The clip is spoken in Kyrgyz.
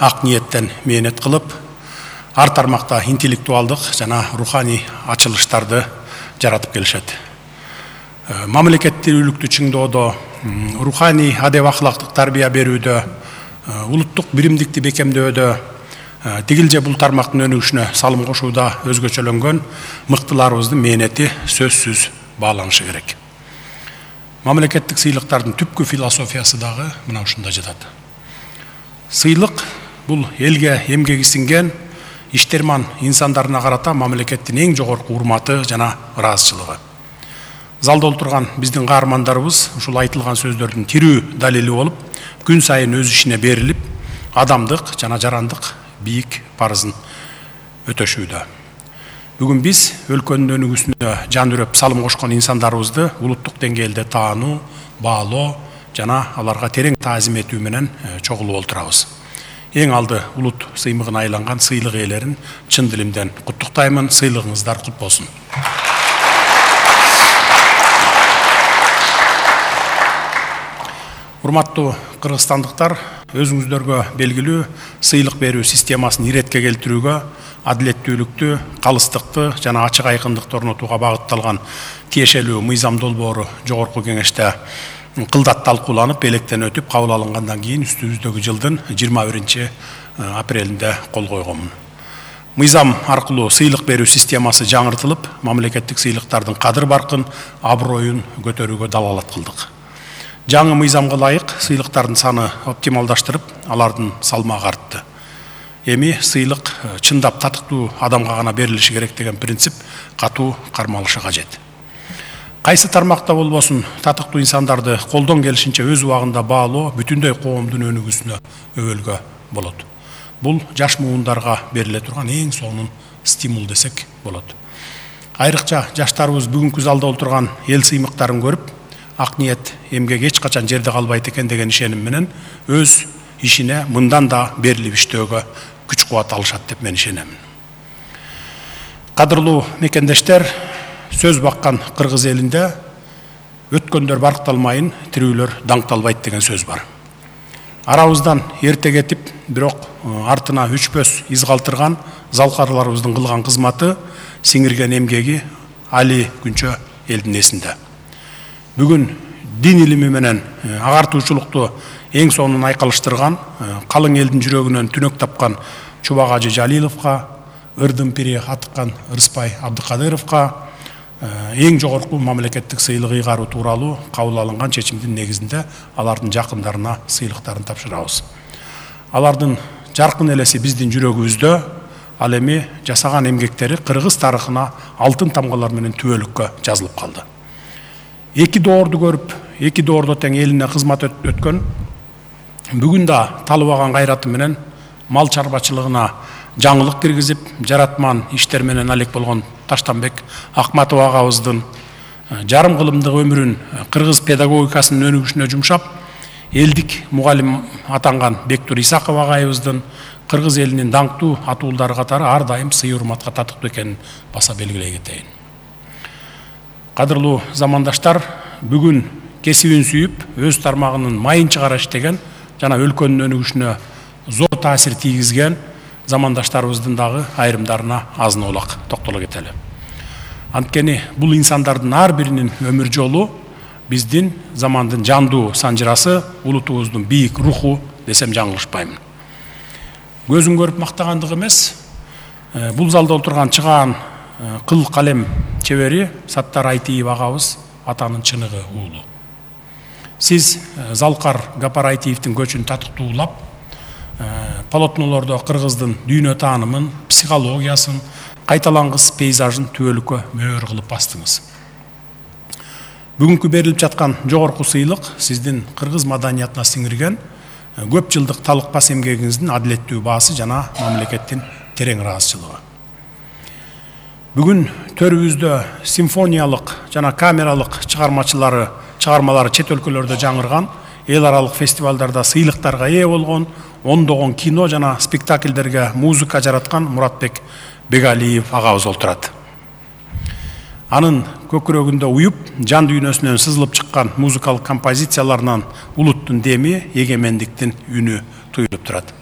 ак ниеттен мээнет кылып, ар тармакта интеллектуалдык жана руханий ачылыштарды жаратып келишет. Мамлекеттүүлүктү чыңдоодо, руханий адеп ахлактык тарбия берүүдө, улуттук биримдикти бекемдөөдө, тигилже бул тармактын өнүгүшүнө салым кошууда өзгөчөлөнгөн мыктыларыбыздын мээнети сөзсүз бааланышы керек. Мамлекеттик сыйлыктардын түпкү философиясы дагы мына ушунда жатат. Сыйлык бул элге эмгеги сиңген иштерман инсандарына карата мамлекеттин эң жогорку урматы жана ыраазычылыгы. Залда отурган биздин каармандарыбыз ушул айтылган сөздөрдүн тирүү далили болуп, күн сайын өз ишине берилип, адамдык жана жарандык бийик парызын өтөшүүдө. Бүгүн биз өлкөнүн өнүгүүсүнө жан үрөп салым кошкон инсандарыбызды улуттук деңгээлде таануу, баалоо жана аларга терең таазим этүү менен чогулуп отурабыз. Эң алды улут сыймыгына айланган сыйлык ээлерин чын дилимден куттуктаймын. Сыйлыгыңыздар кут болсун. Урматтуу кыргызстандыктар, өзүңүздөргө белгилүү сыйлык берүү системасын иретке келтирүүгө, адилеттүүлүктү, калыстыкты жана ачык айкындыкты орнотууга багытталган тиешелүү мыйзам долбоору жогорку кеңеште кылдат талкууланып, электен өтүп, кабыл алынгандан кийин үстүбүздөгү жылдын 21 апрелинде кол койгонмун. Мыйзам аркылуу сыйлык берүү системасы жаңыртылып, мамлекеттик сыйлыктардын кадыр баркын, аброюн көтөрүүгө далалат кылдык. Жаңы мыйзамга ылайык сыйлыктардын саны оптималдаштырып, алардын салмагы артты. Эми сыйлык чындап татыктуу адамга гана берилиши керек деген принцип катуу кармалышы кажет. Кайсы тармакта болбосун, татыктуу инсандарды колдон келишинче өз убагында баалоо бүтүндөй коомдун өнүгүүсүнө өбөлгө болот. Бул жаш муундарга бериле турган эң сонун стимул десек болот. Айрыкча жаштарыбыз бүгүнкү залда отурган эл сыймыктарын көрүп, ак ниет эмгек эч качан жерде калбайт экен деген ишеним менен өз ишине мындан да берилип иштөөгө күч кубат алышат деп мен ишенемин. Кадырлуу мекендештер, сөз баккан кыргыз элинде өткөндөр баркталмайын, тирүүлөр даңкталбайт деген сөз бар. Арабыздан эрте кетип, бирок артына өчпөс из калтырган залкарларыбыздын кылган кызматы, сиңирген эмгеги али күнчө элдин эсинде. Бүгүн дин илими менен агартуучулукту эң сонун айкалыштырган, калың элдин жүрөгүнөн түнөк тапкан Чубак Ажы Жалиловго, ырдын пири Атыккан Ырыспай Абдыкадыровго эң жогорку мамлекеттик сыйлык ыйгаруу тууралуу кабыл алынган чечимдин негизинде алардын жакындарына сыйлыктарын тапшырабыз. Алардын жаркын элеси биздин жүрөгүбүздө, ал эми жасаган эмгектери кыргыз тарыхына алтын тамгалар менен түбөлүккө жазылып калды. Эки доорду көрүп, эки доордо тең элине кызмат өткөн, бүгүн да талыбаган кайраты менен мал чарбачылыгына жаңылык киргизип, жаратман иштер менен алек болгон Таштанбек Акматов агабыздын жарым кылымдык өмүрүн кыргыз педагогикасынын өнүгүшүнө жумшап, элдик мугалим атанган Бектур Исаков агайыбыздын кыргыз элинин даңктуу атуулдары катары ар дайым сый урматка татыктуу экенин баса белгилей кетейин. Кадырлуу замандаштар, бүгүн кесибин сүйүп, өз тармагынын майын чыгара иштеген жана өлкөнүн өнүгүшүнө зор таасир тийгизген замандаштарыбыздын дагы айрымдарына азын оолак токтоло кетели. Анткени бул инсандардын ар биринин өмүр жолу биздин замандын жандуу санжырасы, улутубуздун бийик руху десем жаңылышпаймын. Көзүн көрүп мактагандык эмес, бул залда отурган чыгаан кыл калем чебери Саттар Айтиев агабыз атанын чыныгы уулу. Сиз Залкар Гапар Айтиевдин көчүн татыктуулап, полотнолордо кыргыздын дүйнө таанымын, психологиясын, кайталангыс пейзажын түбөлүккө мөөр кылып бастыңыз. Бүгүнкү берилип жаткан жогорку сыйлык сиздин кыргыз маданиятына сиңирген көп жылдык талыкпас эмгегиңиздин адилеттүү баасы жана мамлекеттин терең ыраазычылыгы. Бүгүн төрүбүздө симфониялык жана камералык чыгармалары чет өлкөлөрдө жаңырган, эл аралык фестивалдарда сыйлыктарга ээ болгон, ондогон кино жана спектакльдерге музыка жараткан Муратбек Бегалиев агабыз олтурат. Анын көкүрөгүндө уюп, жан дүйнөсүнөн сызылып чыккан музыкалык композицияларынан улуттун деми, эгемендиктин үнү туюлуп турат.